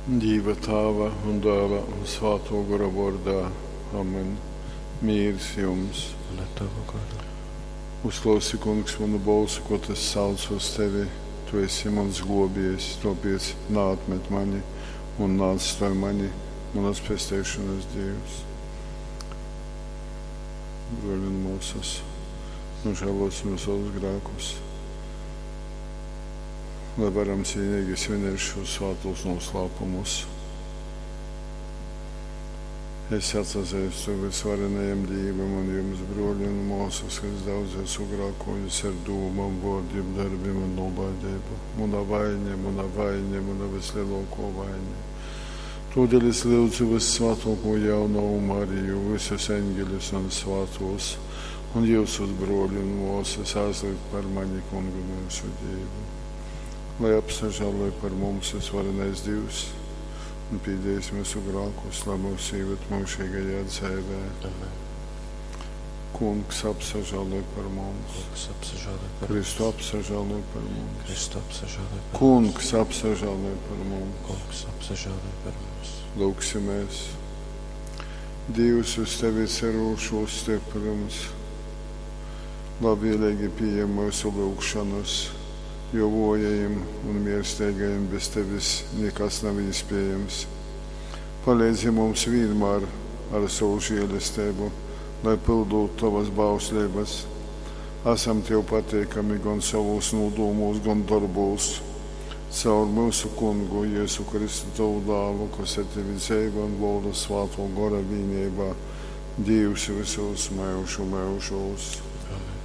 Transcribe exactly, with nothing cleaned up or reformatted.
Dīva Tāva un Dāla un Svātō Gora vōrdā. Amen. Mīrs jums. Un ar tavu goru. Uzklausi, Kungs, manu bolsu, kod es saucu uz tevi. Tu esi mans globiejs, tōpēc naatmet mani un neatstoj mani, manas pesteišanas Dievs. Broļi un māsas, nožēlosim savus grēkus, lai varam cienīgi svinēt šos svātos noslēpumus. Es atsazīstu visvarenajam Dievam un jums, broļi un māsas, ka es daudz esmu grēkojis ar domām, vārdiem, darbiem un nolaidību. Mana vaina, mana vaina, mana vislielāko vaina. Todēļ es lūdzu vissvētāko jaunavu Mariju, visus eņģeļus un svētos, un jūsus broļi un māsas aizlikt par mani kungu mūsu Dievu. Lai apsažāloj par mums visvarenais Dievs un pīdējis mūsu grēkus, lai mūs ieved mūžīgajā dzīvē. Amen. Kungs apsažāloj par mums. Kungs apsažāloj par Kristu mums. apsažāloj par mums. Kristu apsažāloj par mums. Kungs apsažāloj par mums. Kungs apsažāloj par mums. Lūksimies. Dievs uz tevi cerūšo stiprums, labvēlīgi pieņem mūsu lūgšanas, jo vājajiem un miersteigajiem bez tevis nekas nav iespējams. Palīdzi mums vienmēr ar savu žēlastību, lai pildot tavas bauslības. Esam tev pateikami gan savos nodomos, gan darbos. Caur mūsu kungu Jēzu Kristu tavu dālu, kas ar tevi dzīvo un valda svāto gora vienībā, Dievs visos mūžu mūžos.